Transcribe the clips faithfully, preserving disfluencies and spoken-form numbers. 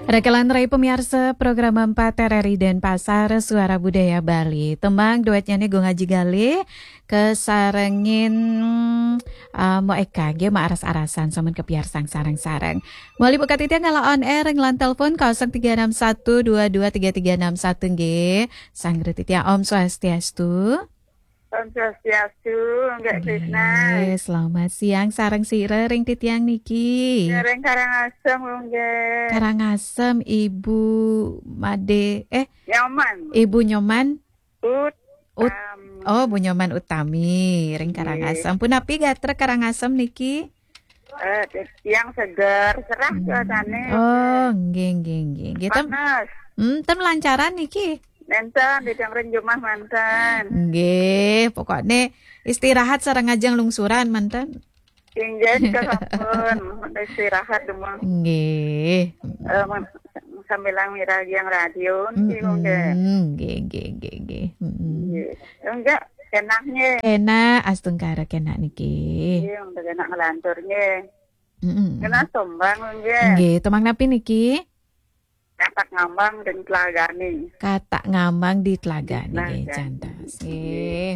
Raka lan rai pamiarsa program empat R R I Denpasar, Suara Budaya Bali. Tembang duetnya nih Gung Aji Galih, kasarengin, eh, Mo Eka, nggih, Mo Aras-arasan, sampun kapiarsang sareng-sareng. Mawali buka titiang kala on air, ring line telepon kosong tiga enam satu dua dua tiga tiga enam satu, nggih. Sanggra titiang Om Swastiastu. Om Swastiastu, Nggak Krisna. Nggih, selamat siang, sareng sira ring titiang niki. Sareng Karangasem, nggih. Karangasem, Ibu Made, eh, Nyoman. Ibu Nyoman? Ut-, Ut-, Am. Oh, Bu Nyoman Utami, ring Nggih. Karangasem. Punapi gatra Karangasem niki? Eh, tiang seger, serah Hmm. cuacane. Oh, nggih, nggih, nggih. Nggih, tem-, Panas. Hmm, ten lancaran niki? Nenten, di ring jumah manten. Nggih, pokokne istirahat sareng ajeng lungsuran manten. Inggih, sampun. Istirahat dumun. Nggih. Eh, men-, sambil miragi yang radio, niki, Mm-mm. nggih. Nggih, nggih, nggih, nggih. Mm-mm. Nggih. Enggak, enaknya. Enak, astungkara kenak niki. Nggih, udah enak ngelantur, nggih. Mm-mm. Kena sombang, nggih. Nggih, tembang napi niki? Katak ngambang dan telagane. Katak ngambang di telagane, nggih, Telagane. Cantas. Nggih.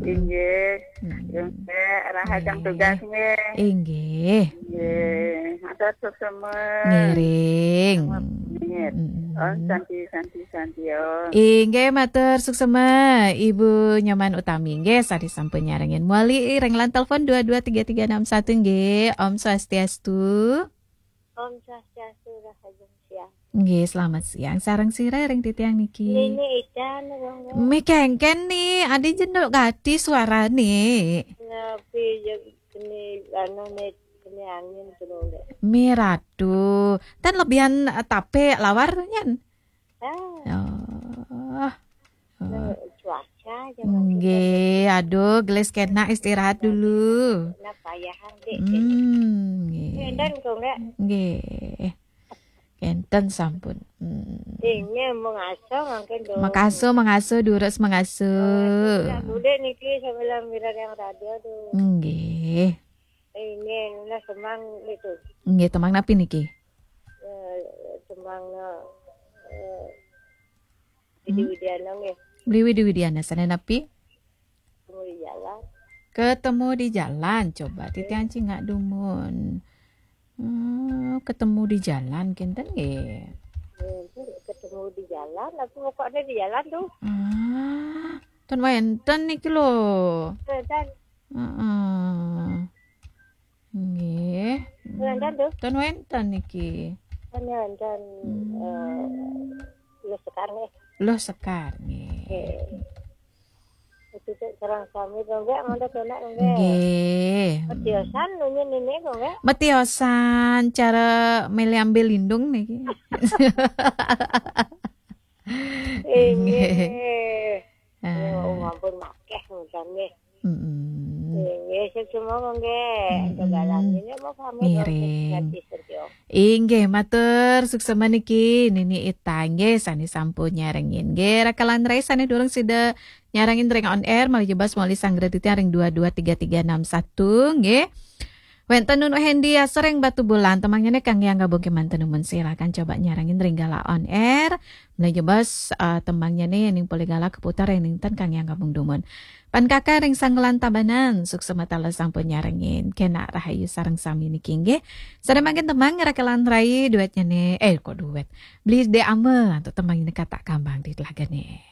Inggih. Hmm. Inggih, rahajeng Nggih. Tugas, nggih. Inggih. Nggih. Matur suksma. Ngiring. Nggih. Hmm. Om Santi, Santi, Santi, Om. Inggih, matur suksma, Ibu Nyoman Utami. Nggih, sari sampun nyarengin. Mawali ring line telepon dua dua tiga tiga enam satu, nggih. Om Swastiastu. Om Swastiastu, rahajeng siang. Nggih, selamat siang. Sareng sira ring titiang niki? Nini Ida, nggih. Mi kengken ni, adi jenduk gati suarane. Napi je keni, anu, ni, keni angin tu, nggih. Mi ratu. Tan lebihan, eh, tape lawar tu nyen? Ah. Oh. Oh. Cuaca aja mungkin. Nggih, aduh, gelis kenak istirahat dulu. Nah, payahan, Dik. Hmm, nggih. Enten kok, nggih. Nggih. Kenten sampun. Hmm. Ini mengasuh mungkin dong. Mengasuh, mengasuh, durus mengasuh. Mengasuh. Budak niki sambil mireng yang radio tuh. Nggih. Ini, nah, semang itu. Nggih, tembang napi niki? Eh, tembang, eh, Widi Hmm. Widiana nggih. Beli Widi Widiana, sane napi? Ketemu di jalan. Ketemu di jalan, coba titiang cingak dumun. Hmm, ketemu di jalan, kenten nggih. Nggih, ketemu di jalan, apa pokoknya di jalan tuh. Ah, ten wenten niki lho. Wenten. Heeh. Nggih. Wenten tuh. Ten wenten niki. Ten wenten, Hmm. eh, Luh Sekar nggih. Luh Sekar nggih. Nggih. Itu tuh sareng sami to, nggih, mantep enak, nggih. Nggih. Metiosan nunyi nini kok, nggih. Metiosan cara mele ambil lindung niki. Nggih. Nggih. Ah. Oh, ampun, makeh ngoten nggih. Mm-mm. Nggih, sip semua, nggih. Mm-mm. Tegalan ini mau pamit, Ngiring. Ganti studio. Inggih, matur suksema niki Nini Ita nggih, sane sampun nyarengin. Nggih, raka lan rai sane durung sida nyarengin ring on air, malih jebos malih sanggra titiang ring dua dua tiga tiga enam satu, nggih. Wenten Nunu Hendi Asreng Batubulan, tembangnyané kangge anggabungke manten dumun, silakan coba nyarengin ring galah on air. Malih jebos, eh, tembangnyané ning polih galah keputar ring ten kangge anggabung dumun. Pan Kakak ring Sanggelan Tabanan, suksema taler sampun nyarengin. Kenak rahayu sareng sami niki nggih. Sane mangkin tembang raka lan rai duetnyané, eh, kok duet. Beli Dek Ama, antuk tembang ini Katak Kambang di telagane.